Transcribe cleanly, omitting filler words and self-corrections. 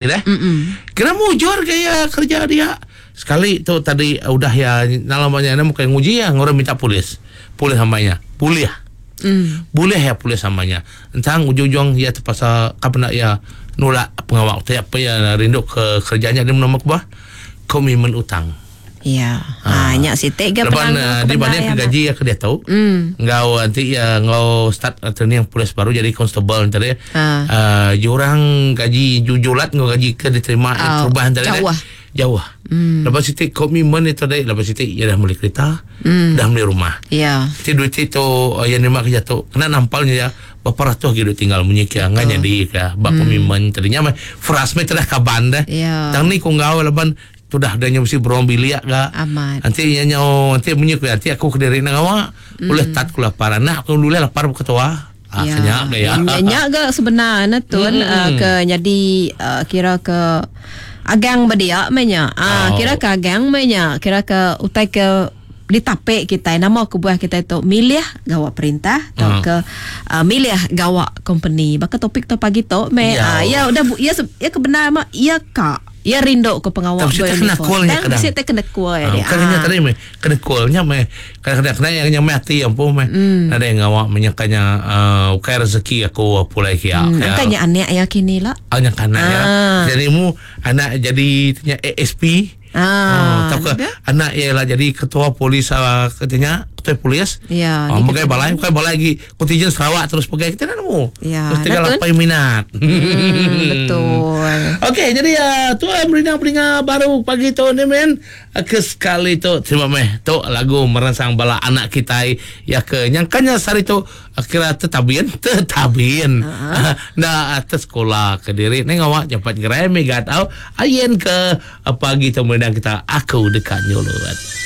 Deh. Kira mujur ke iya kerja dia. Sekali tu tadi udah iya nalama nya bukai nguji iya ngurang minta polis. Polis amai nya. Bulih. Mm. Bulih iya polis amai nya. Entang ujung-ujung iya terpaksa ka penda iya nulak pengawa utai apa iya rindu ke kerja nya dia menua kubah komitmen utang. Ya. Ha, nya siti ga Laban uh, dibanding ke gaji ke diatu mm. enggau nanti ya enggau start training polis baru jadi constable tadi. Ha. Uh, jurang gaji jujulat enggau gaji ke diterima oh, terubah tadi. Jauh. Jauh. Mm. Lepas siti komitmen itu tadi, lepas siti ya dah beli kereta, mm. dah beli rumah. Ya. Siti duit itu uh, yang nerima kerja tu kena nampalnya ya berapa ratus lagi duit tinggal munyi ke ngan jadi ke bak mm. komitmen tadinya meh frust meh tedah kaban dah. Ya. Tang ni ku enggau laban Tudah udah nya mesti beruang bilik ga. Amat. Enti iya nyau enti munyi ku iya enti aku kediri enda ngawa mm. ulih tat ku lapar anak aku ulih lapar ketua. Ah ya. Kenya ga ya. Nya, nya ga sebenar ne tun mm. uh, ke nyadi uh, kira ke agang bedia meh nya. Ah oh. kira ke agang meh nya, kira ke utai ke ditapik kitai nama kebuah kitai tu milih gawa perintah tauka hmm. uh, milih gawa company baka topik tu pagi tu meh ya uh, ya udah ya ya kebenar mah ya ka ya rindu ke pengawa Tapi kita kena call nya kadang. Mesti kena call ya. Bukan nya tadi meh kena call nya meh kadang-kadang kena yang nya meh ati ampu meh. Hmm. Nadai ngawa menyangkanya uh, ukai rezeki aku pulai kia. Hmm. Angkanya anak ya kini lah. Ah, nya anak ya. Jadi mu anak jadi nya ASP. Ah, oh, tauka anak iya lah jadi ketua polis uh, katanya ketua polis. Ya. Oh, megai balai, bukan balai lagi kontijen Sarawak terus pegai kita nak nemu. Ya. Terus tinggal apa minat. Betul. Okey, jadi uh, tu uh, merindang peninga baru pagi tu ni men. Uh, ke sekali tu terima meh tu lagu merangsang bala anak kita ya ke nyangkanya sehari tu Kira tetabin, tetabin. Uh-huh. Nda atas sekolah ke diri ni ngawak cepat gerai mega tau. Ayen ke pagi tu merindang kita aku dekat nyulut.